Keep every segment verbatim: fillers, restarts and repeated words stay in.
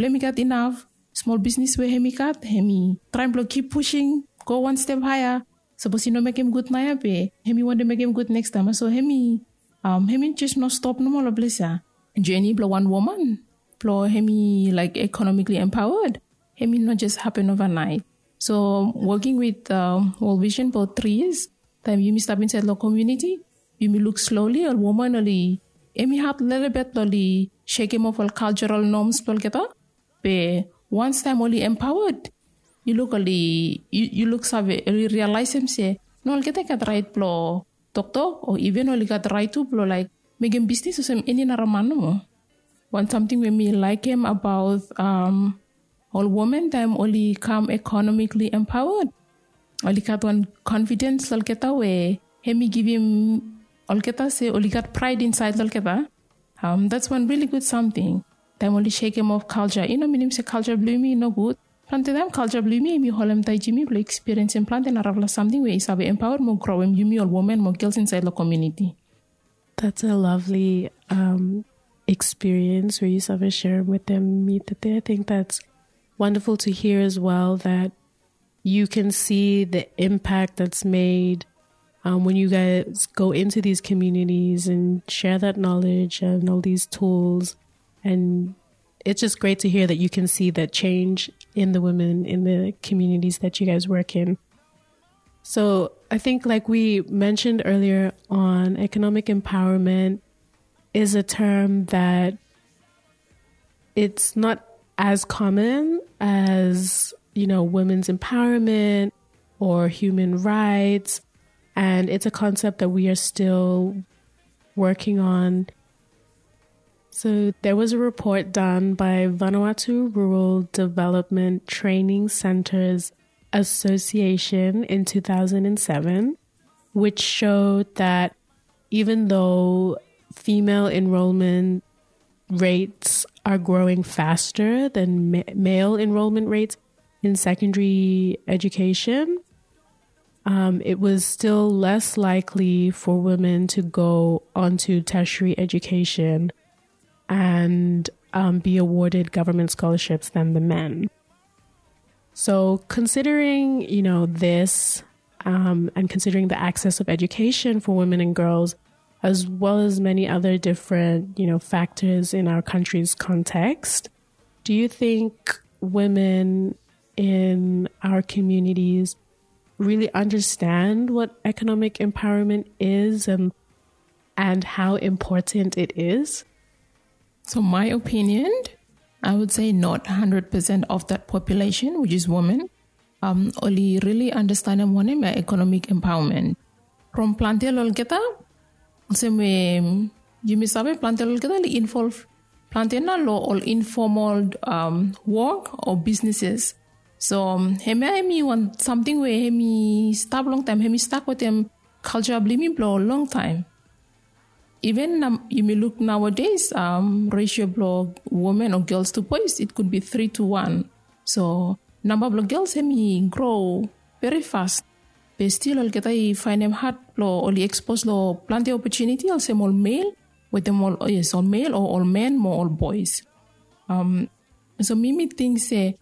Blong em i gat inaf smol bisnis we hem i gat, hem i traem blong kip pusing go wan step haea. Sapos i no mekem gud naoia be hem i wantem mekem gud nekstaem. So hem i hem i jes no stop nomo long ples ya. Jeni blong wan woman blong hem i laik ekonomikli empaoad, hem i no jes hapen ovanaet. So woking wit World Vision blong tri yias, taem yumi stap insaed long komuniti, yumi luk sloli ol woman oli, hem i had lelebet blong oli sekem of ol kaltsaral noms blong olgeta. Be wans taem oli empaoad, yu luk oli, yu luk save, oli rialaesem se no olgeta i gat raet blong toktok o iven oli gat raet tu blong laek mekem bisnis olsem eni nara man nomo. Wan samting we mi laekem abaot ol woman taem oli kam ekonomikli empaoad, oli gat wan konfidens long olgeta we hem i givim olgeta se oli gat praed insaed long olgeta. That's wan rili gud samting. Taem oli sekem of kaltsa i no minim se kaltsa blong yumi i no gud. Plante taem kaltsa blong yumi hem i holem taet yumi blong ekspiriensim plante narafala samting we i save empaoad mo growem yumi ol woman mo gels insaed long komuniti. That's a lovely um, experience where you save sharing with them. I think that's wonderful to hear as well that you can see the impact that's made um, when you guys go into these communities and share that knowledge and all these tools. And it's just great to hear that you can see that change in the women in the communities that you guys work in. So I think, like we mentioned earlier on, economic empowerment is a term that it's not as common as, you know, women's empowerment or human rights. And it's a concept that we are still working on. So there was a report done by Vanuatu Rural Development Training Centers Association in two thousand seven, which showed that even though female enrollment rates are growing faster than ma- male enrollment rates in secondary education, um, it was still less likely for women to go onto tertiary education and um, be awarded government scholarships than the men. So considering, you know, this um, and considering the access of education for women and girls, as well as many other different, you know, factors in our country's context, do you think women in our communities really understand what economic empowerment is and and how important it is? So my opinion, I would say not hundred percent of that population, which is women, um, oli rili andastanem wanem ya economic empowerment. From plante lo olgeta, olsem we yumi save plante lo olgeta oli involve plante nao lo ol informal um, work o businesses. So um, hemia hemi wan samting we hemi stap longtaem, hemi stak wetem culture blo yumi blo longtaem. Even um, yumi luk nowadays, um, ratio blo women o girls to boys, it could be three to one. So namba blo girls hemi grow very fast. Be stil olgeta i faenem had blo oli expose lo plante opportunity olsem ol male wetem ol, yes, ol male o ol men mo ol boys. Um, so mi mi ting se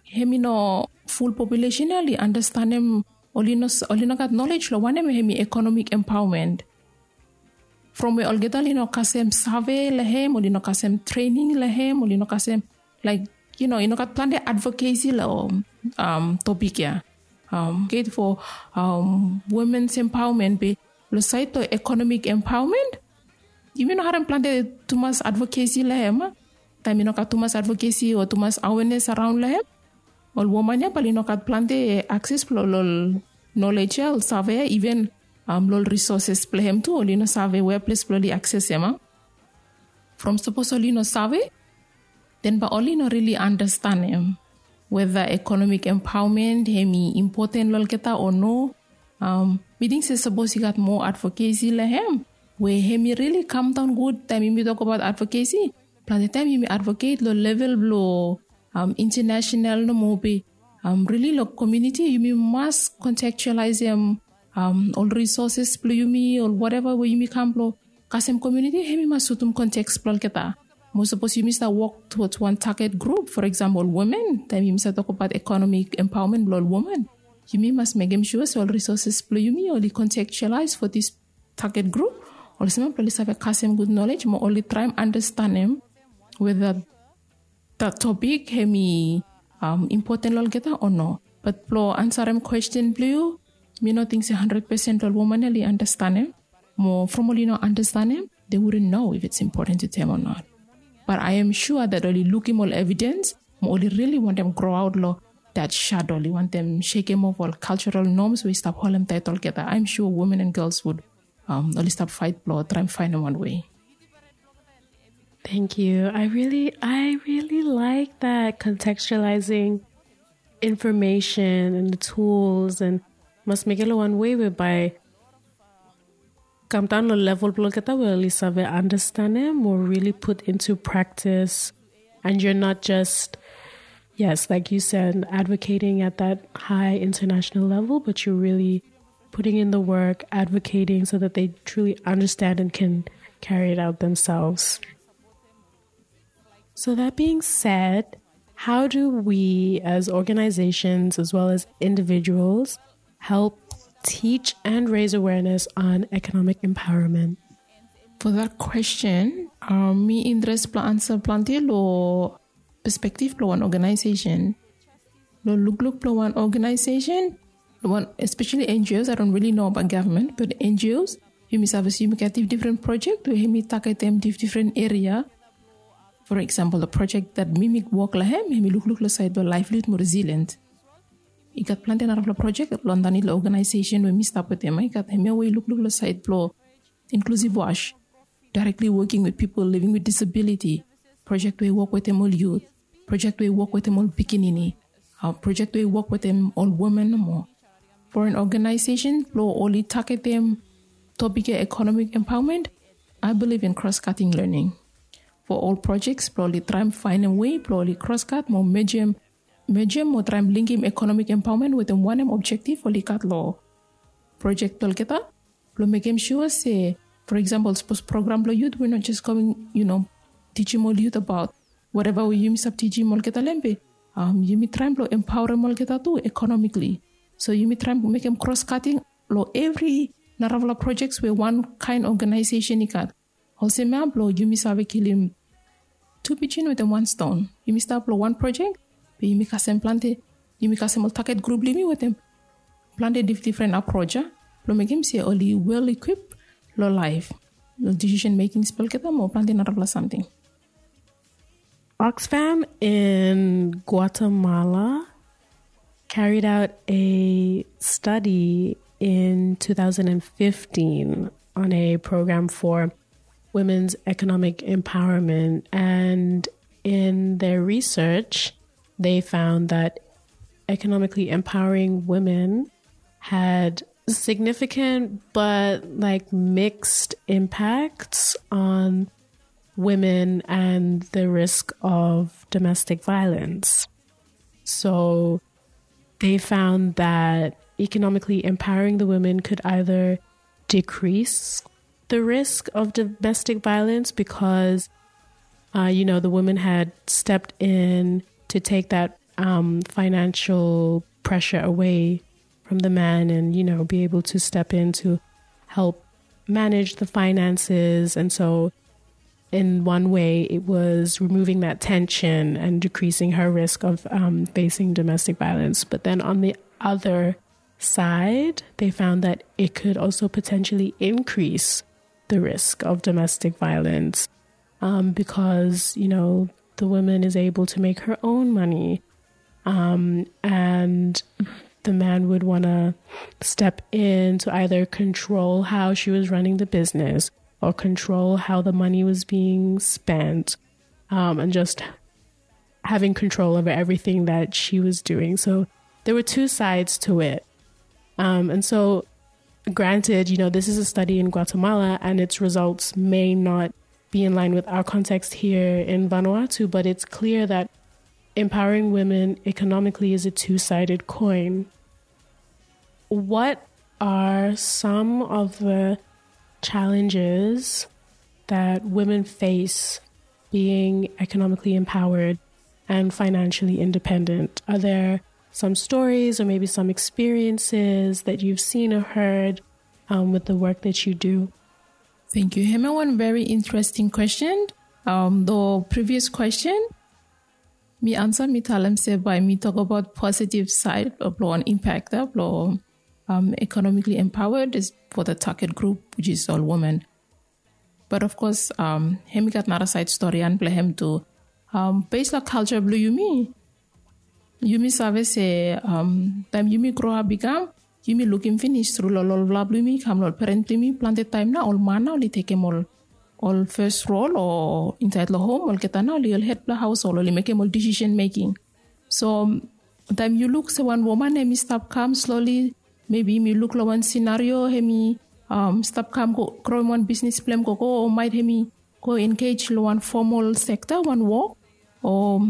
hemi no full population ya oli andastanem, oli no, oli no gat knowledge lo wanem hemi economic empowerment. From we olgeta oli no kasem save lo hem, oli no kasem training lo hem, oli no kasem like, you know, i no gat plante advocacy lo um, topic ya. Um, okay, for um, women's empowerment be lo saed lo economic empowerment, yumi no harem plante tumas advocacy lo hem. Taem i no gat tumas advocacy o tumas awareness around lo hem, ol woman ya bali no gat plante access blo ol knowledge ya, ol save ya, even um, lo ol resources blo hem tu oli no save wea ples blo oli access hem. From sapos oli no save, then ba oli no rili andastanem weda economic empowerment hemi important lo olgeta o no. Um, mi ting se sapos i gat moa advocacy lo hem we hemi rili kam daon gud. Taem yumi tok abaot advocacy, plante taem yumi advocate lo level blo um, international nomo be um, rili lo community yumi mas contextualizem um, ol resources blo yumi, ol whatever we yumi kam blo kasem community, hemi mas sutum context blo olgeta. Mo sapos yumi stap wok towards wan target group, for example, women, taem yumi stap tokbaot economic empowerment blong ol women, yumi mas mekem sua se ol resources blong yumi oli contextualize for this target group. Olsem blong oli save kasem gud knowledge mo oli traem understanem whether that topic hemi um, important long olgeta o no. But blong ansarem question blong yu, mi no ting se hundred percent long ol woman oli understanem. Mo from oli no understanem, they wouldn't know if it's important to them or not. But I am sure that oli lukim ol evidence mo oli really wantem grow out long that shadow, oli wantem shekem off ol cultural norms we i stap holem taet olgeta. I'm sure women and girls would um, oli stap fight blong traem faenem wan way. Thank you. I really, I really like that contextualizing information and the tools and mas mekem long wan way whereby kam daon long level blong olgeta we oli save understanem or really put into practice. And you're not just, yes, like you said, advocating at that high international level, but you're really putting in the work, advocating so that they truly understand and can carry it out themselves. So that being said, how do we as organizations as well as individuals help teach and raise awareness on economic empowerment? For that question, um, mi interest blong answer plante long perspective blong wan organization. Long lukluk blong wan organization, long wan, especially N G Os, I don't really know about government, but N G Os, yumi save se yumi gat different project we hemi targetem different area. For example, the project that mi mi wok long hem, hemi lukluk long side blong livelihood mo resilient. I gat plante narafala project long underneath long organization we mi stap wetem. I gat hemia we i lukluk long side blong inclusive wash, directly working with people living with disability, project we i wok wetem ol youth, project we i wok wetem ol pikinini, uh, project we i wok wetem ol women nomo. For an organization blong oli targetem topic ya economic empowerment, I believe in cross-cutting learning. For ol projects blong oli traem faenem way blong oli cross-cut mo mejem, mejem mo traem linkem economic empowerment wetem wanem objective oli gat long project blong olgeta, blong mekem sua se, for example, sapos program blong youth we no jes kam, you know, tijim ol youth about whatever we yumi stap tijim olgeta long hem be, um, yumi traem blong empowerem olgeta tu economically. So yumi traem mekem cross-cutting long evri narafala projects we wan kaen organization i gat. Olsem ya blong yumi save kilim tu pijin wetem wan stone. Yumi stap long wan project be yumi kasem plante, yumi kasem ol target group blong yumi wetem plante dif-, different approach ya blong mekem se oli well equipped long life, long decision making blong olgeta mo plante narafala samting. Oxfam in Guatemala carried out a study in two thousand fifteen on a program for women's economic empowerment. And in their research, they found that economically empowering women had significant but, like, mixed impacts on women and the risk of domestic violence. So they found that economically empowering the women could either decrease the risk of domestic violence because, uh, you know, the woman had stepped in to take that, um, financial pressure away from the man and, you know, be able to step in to help manage the finances. And so in one way, it was removing that tension and decreasing her risk of, um, facing domestic violence. But then on the other side, they found that it could also potentially increase the risk of domestic violence, um, because, you know, the woman is able to make her own money. Um, and the man would want to step in to either control how she was running the business or control how the money was being spent, um, and just having control over everything that she was doing. So there were two sides to it. Um, and so, granted, you know, this is a study in Guatemala and its results may not be in line with our context here in Vanuatu, but it's clear that empowering women economically is a two-sided coin. What are some of the challenges that women face being economically empowered and financially independent? Are there some stories or maybe some experiences that you've seen or heard um, with the work that you do? Thank you. Hemia wan very interesting question. Um, the previous question, mi ansa, mi talem se bae mi tokbaot positive side blong wan impact blong um, economically empowered is for the target group, which is all women. But of course, um, hemi gat nara side story an blong hem tu. Um, based long culture blong yumi, yumi save se um, taem yumi grow up i kam, yumi lukim finis tru long olfala blong yumi kam long ol parent blong yumi, plante taem nao ol man nao oli tekem ol ol first role o insaed long hom, olgeta nao oli ol head blong household, oli mekem ol decision making. So taem yu luk se wan woman hemi stap kam slowly, maybe yumi luk long wan scenario hemi um, stap kam go growim wan bisnis blong hem gogo, o maet hemi go engage long wan formal sector, wan wok, o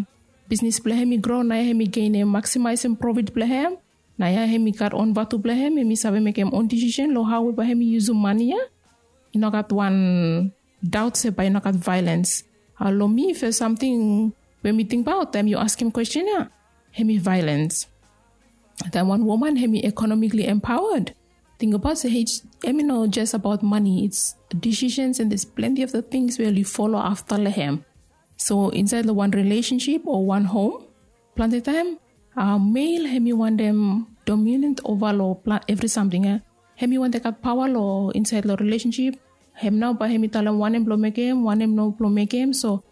bisnis blong hem i grow, naoia hem i genem, maximizem profit blong hem. Naoia hem i gat on vatu blong hem, hem i save mekem on decision long hao we bae hem i yusum mane ia. I no gat wan doubt se bae i no gat violence. Long mi, first samting we mi tingbaot taem yu askem question ia, hem i violence. Taem wan woman hem i economically empowered, tingbaot se hem i no just about money, it's decisions and there's plenty of the things we oli follow afta long hem. So insaed long wan relationship o wan hom, plante taem male hem i wantem dominant ova long evri samting ia. Hem i wantem gat paoa long insaed long relationship. Hem nao bae hem i talem wanem blong mekem, wanem no blong mekem. So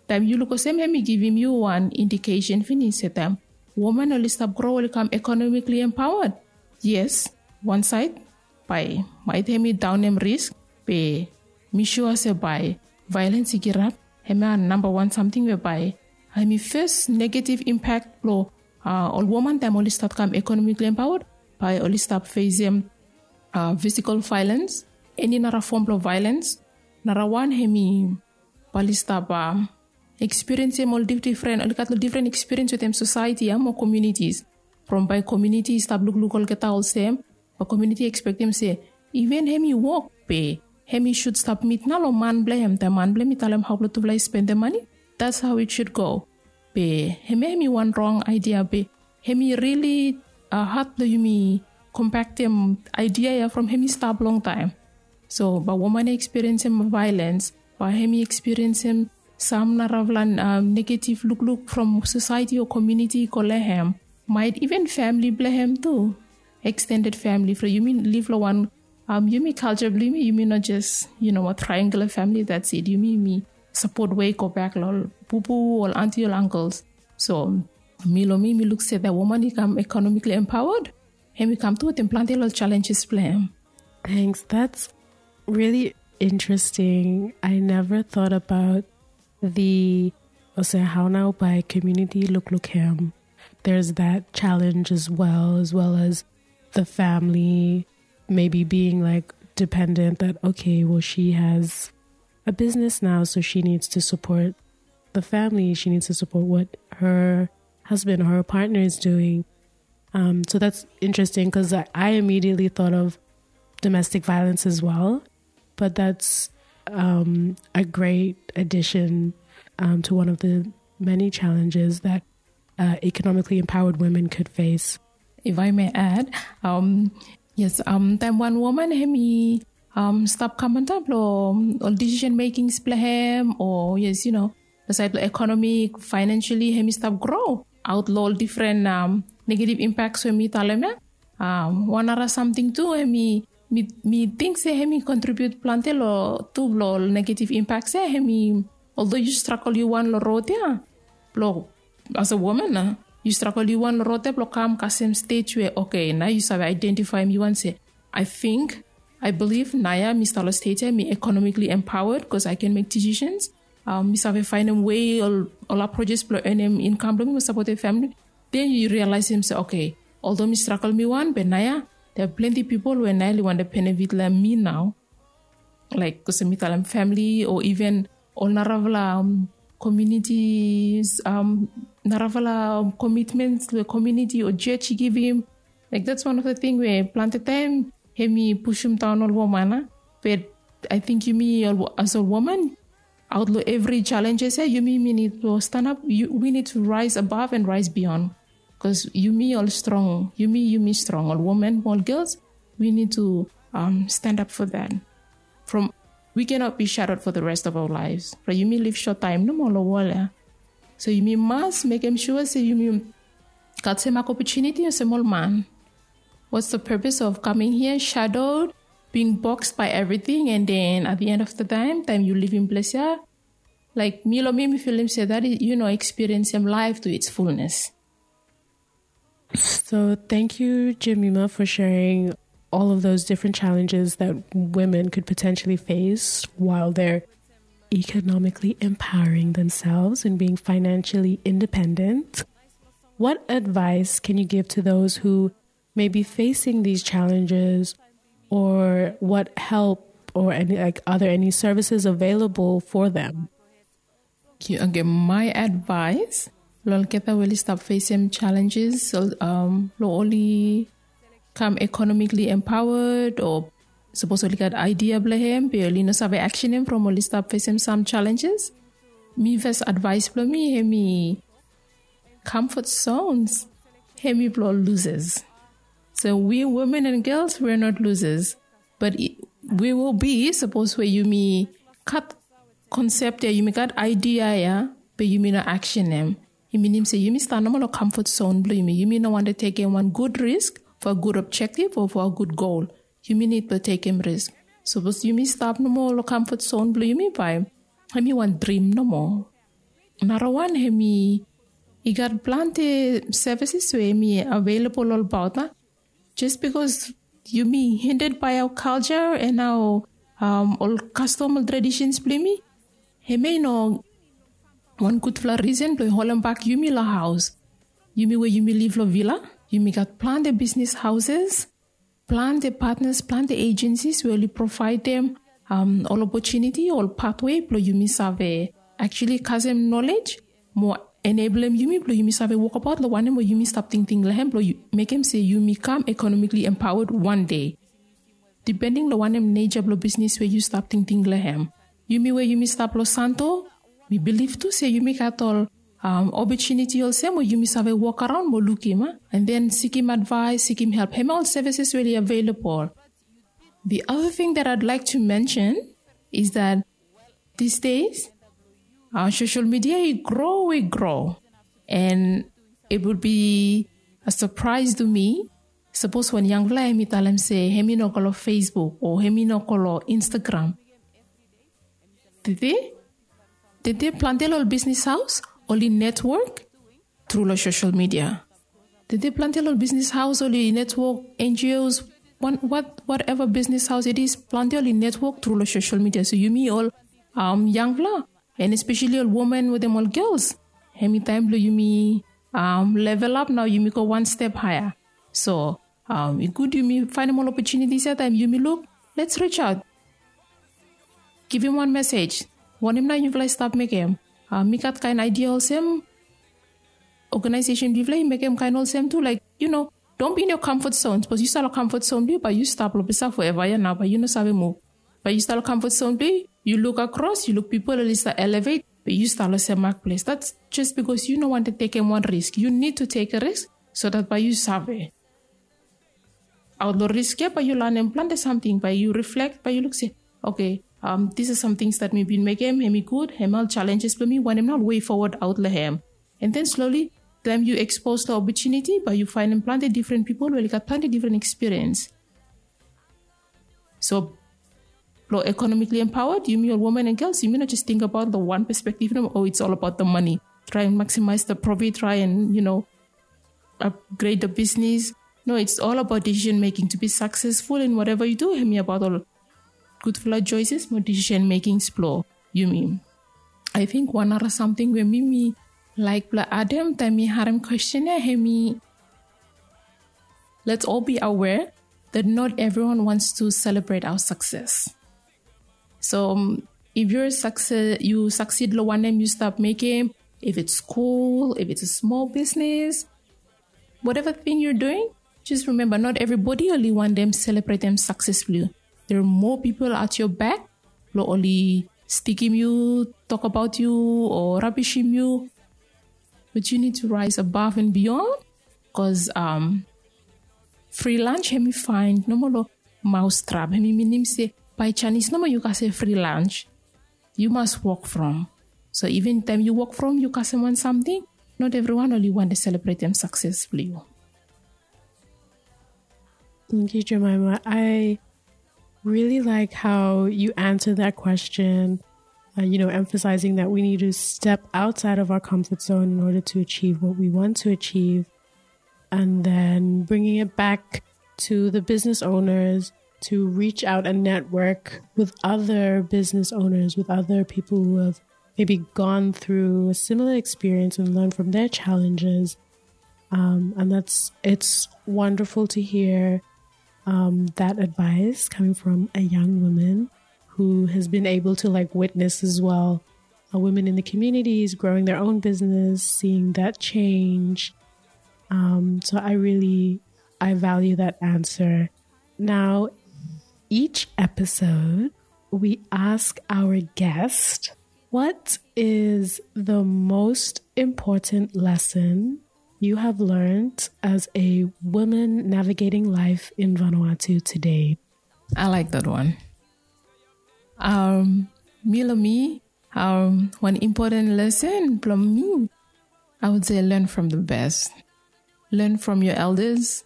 taem yu luk olsem, hem i givim yu wan indication finis se taem woman oli stap grow, oli kam economically empowered, yes, wan saed bae maet hem i daonem risk, be mi sua se bae violence i kirap. Hemia namba wan samting we bae hem i fes negative impact blong ol woman taem oli stap kam economically empowered, bae oli stap fesem physical violence, eni nara fom blong violence. Nara wan hem i bae oli stap experienceem ol difdifren, oli gat ol difren experience wetem society ia mo communities. From bae community i stap lukluk olgeta olsem, bae community i expectem se iven hem i wok, be hem i should submit nao long man blong hem. Taem man blong hem i talem hao blong tufala i spendem mane, that's how it should go. Be hemia hem i wan rong idea, be hem i really had blong yumi compactem idea ia from hem i stap longtaem. So bae woman i experienceem violence, bae hem i experienceem sam narafala negative lukluk from society o community i go long hem. Maet iven family blong hem tu, extended family. From yumi liv long wan, yumi culture blong yumi, yumi no just, you know, a triangular family, that's it. Yumi, yumi sapot we i go back long ol pupu, ol aunty, ol uncles. So mi, long mi, mi luk se taem woman i kam economically empowered, hem i kam tu wetem plante long challenges blong hem. Thanks. That's really interesting. I never thought about the, olsem, hao nao bae community lukluk hem. There's that challenge as well, as well as the family maybe being, like, dependent, that, okay, well, she has a business now, so she needs to support the family. She needs to support what her husband or her partner is doing. Um, so that's interesting, because I, I immediately thought of domestic violence as well, but that's um, a great addition um, to one of the many challenges that uh, economically empowered women could face. If I may add, um, yes, um, taem wan woman hem i um, stap kam antap long ol decision makings blong hem, o yes, you know, long saed blong economic, financially, hem i stap grow aot long ol difren um, negative impacts we mi talem ia. Um, wan nara samting tu, hem i, mi, mi ting se hem i contribute plante long tu blong ol negative impacts ia. Hem i, although yu struggle yu wan long rod ia, blong as a woman nao, yu struggle yu wan long rod ia blong kam kasem stage we, okay, nao yu save identify mi wan se, I think, I believe naoia mi stap long stage ia mi economically empowered, because I can make decisions. Um, mi save faenem wei, ol, ol approaches blong earnem income blong mi mo sapotem family. Then yu realizeem se, okay, although mi struggle mi wan, be naoia there are plenty pipol we nao oli wantem benefit long mi nao. Like, olsem mi talem, family, o even ol narafala um, communities, um, narafala um, commitments we community o church i givim. Like, that's one of the thing we plante taem hem i pusum daon ol woman ia. But I think yumi, as ol woman, aot long evri challenges ya, yumi mi nid blong stanap. We need to rise above and rise beyond. Bikos yumi ol strong, yumi yumi strong, ol women, ol girls, we need to um, stand up for that. From we cannot be shattered for the rest of our lives. Right? Yumi liv short taem nomo long wol ya. So yumi mas mekem sua se yumi gat semak opportunity olsem ol man. What's the purpose of coming here shadowed, being boxed by everything, and then at the end of the time, taem yu livim ples ya, like mi long mi, mi filim se that is, you know, experiencem life to its fullness. So thank you, Jemima, for sharing all of those different challenges that women could potentially face while they're economically empowering themselves and being financially independent. What advice can you give to those who may be facing these challenges, or what help or any, like, are there any services available for them? Okay, my advice, long olgeta we oli stap fesem challenges, so, um, long oli kam economically empowered, o sapos oli gat idea blong hem be oli no save actionem from oli stap fesem sam challenges. Mi fes advice blong mi hemi comfort zones hemi blong losers. So we women and girls, we're not losers. But we will be, sapos we yumi gat konsep ya, yumi gat idea ya, be yumi no actionem. I minim se yumi stap nomo long comfort zone blong yumi. Yumi no wantem tekem wan gud risk for a gud objective o for a gud goal. Yumi nid blong tekem risk. Sapos yumi stap nomo long comfort zone blong yumi, bae hemi wan drim nomo. Narawan hemi, i gat plante services we hemi available olbaot, a? Just bikos yumi hindered by our culture and our, um, ol kastom, ol traditions blong yumi, hemia i no wan gudfala risen blong holem bak yumi long haos. Yumi we yumi liv long villa, yumi gat plante bisnis haoses, plante partners, plante agencies we oli provaedem, um, ol opportunity, ol pathway blong yumi save actually kasem knowledge mo eneblem yumi blong yumi save wokbaot long wanem we yumi stap tingting long hem blong mekem se yumi kam economically empowered wan dei. Depending long wanem nature blong bisnis we yu stap tingting long hem. Yumi we yumi stap long Santo, mi bilif tu se yumi gat ol, um, opportunity olsem we yumi save wok araon mo lukim, a? And then sikim advice, sikim help. Hemia ol services we oli available. The other thing that I'd like to mention is that these days, uh, social media i grow, i grow. And it would be a surprise to me sapos wan yangfala hemi talem se hemi no go long Facebook o hemi no go long Instagram. Tede, tede plante long ol bisnis haos oli network tru long social media. Tede plante long ol bisnis haos oli network, N G Os, whatever business house it is, plante oli network tru long social media. So yumi ol, um, yangfala, and especially ol women wetem ol girls, hemi taem blong yumi, um, level up nao, yumi go wan step higher. So, um, i gud yumi faenem ol opportunities ya, taem yumi luk, let's reach out. Givim wan message. Wanem nao yufala i stap mekem? Um, mi gat kaen idea olsem, organization blong yufala i mekem kaen olsem tu, like, you know, don't be in your comfort zone. Sapos yu stap long comfort zone blong yu, bae yu stap long ples ya forever ya nao, bae yu no save muv. Bae yu stap long comfort zone blong yu, yu luk across, yu luk pipol oli stap elevate, be yu stap long semak ples. That's just bikos yu no wantem tekem wan risk. You need to take a risk so that bae yu save. Aot long risk ya bae yu lanem plante samting, bae yu reflect, bae yu luk se, okay, um, these are some things that mi bin mekem, hemi gud, hemia ol challenges blong mi, wanem nao ol way forward aot long hem. And then slowly, taem yu expose long opportunity, bae yu faenem plante different pipol we oli gat plante different experience. So, blong economically empowered, yumi ol women and girls, yumi no just think about the one perspective, no, oh, it's all about the money. Try and maximize the profit, try and, you know, upgrade the business. No, it's all about decision making to be successful in whatever you do. Hemi abaot ol gudfala choices mo decision makings blong yumi. I think wan nara samting we mi mi laek blong adem taem mi harem kwestin ya, hemi, let's all be aware that not everyone wants to celebrate our success. So, um, if you're success, yu succeed long wanem yu stap mekem, if it's school, if it's a small business, whatever thing you're doing, just remember, not everybody oli wantem selebretem success blong yu. There are more people at your back blong oli stikim yu, tok abaot yu, o rabishim yu. But you need to rise above and beyond, bikos um, free lunch hemi fain nomo long maustrap. Hemi minim se bae janis nomo yu kasem free lunch. Yu mas wok from. So even taem yu wok from, yu kasem wan samting, not evriwan oli wantem selebretem sakses blong yu. Thank you, Jemima. I really like how you answered that question, uh, you know, emphasizing that we need to step outside of our comfort zone in order to achieve what we want to achieve. And then bringing it back to the business owners to reach out and network with other business owners, with other people who have maybe gone through a similar experience and learn from their challenges. Um, and that's, it's wonderful to hear um, that advice coming from a young woman who has been able to like witness as well uh, women in the communities growing their own business, seeing that change. Um, so I really, I value that answer. Now, each episode, we ask our guest, what is the most important lesson you have learned as a woman navigating life in Vanuatu today? I like that one. Um, mi long mi, um, wan important lesson blong mi, I would say learn from the best. Learn from your elders.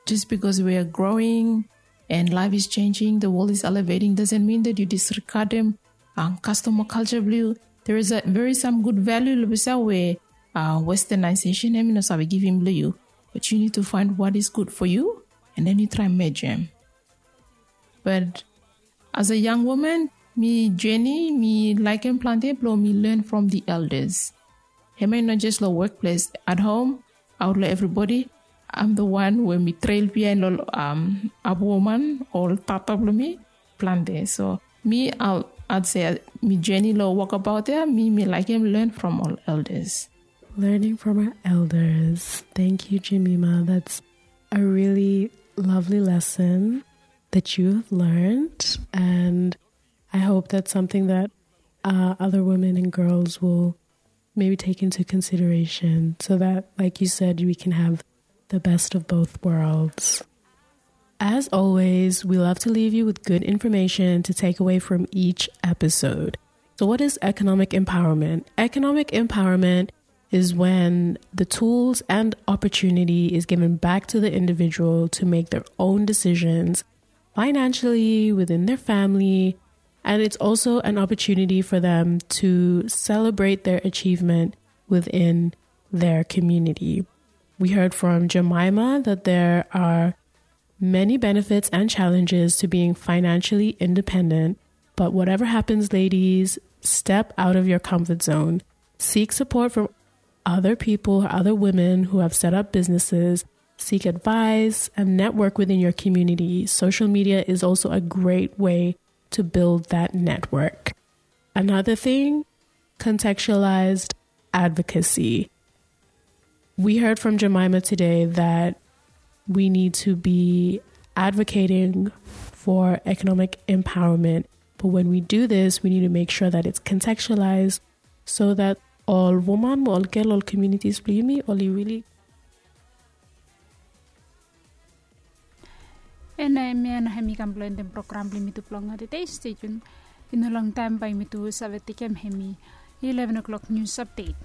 Just because we are growing and life is changing, the world is elevating, doesn't mean that you disregard them. Um, custom or culture blong yu, there is a very some good value long beside where uh, westernization hemi no save givim blong yu. But you need to find what is good for you, and then you try merge them. But as a young woman, mi journey, mi laekem plante blong mi learn from the elders. Hemia i no jes long workplace, at home, out long everybody. I'm the one we mi trail behind long um, abu woman, ol tata blong mi, plante. So mi, I'll, I'd say mi journey long walkabout ya, mi mi laekem learn from ol elders. Learning from our elders. Thank you, Jemima. That's a really lovely lesson that you have learned. And I hope that's something that uh, other women and girls will maybe take into consideration so that, like you said, we can have the best of both worlds. As always, we love to leave you with good information to take away from each episode. So, what is economic empowerment? Economic empowerment is when the tools and opportunity is given back to the individual to make their own decisions financially, within their family, and it's also an opportunity for them to celebrate their achievement within their community. We heard from Jemima that there are many benefits and challenges to being financially independent, but whatever happens, ladies, step out of your comfort zone. Seek support from other people, other women who have set up businesses. Seek advice and network within your community. Social media is also a great way to build that network. Another thing, contextualized advocacy. We heard from Jemima today that we need to be advocating for economic empowerment. But when we do this, we need to make sure that it's contextualized so that ol woman mo ol gel, ol communities blong yumi oli really. Ena hemia nao hemi kam blong endem program blong yumi tu blong tede. Stay tuned. I no longtaem bae yumi tu save tekem hemi eleven o'clock news update.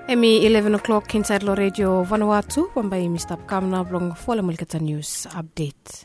Hemi eleven o'clock insaed long redio Vanuatu. Bambae yumi stap kam nao blong folem olgeta news update.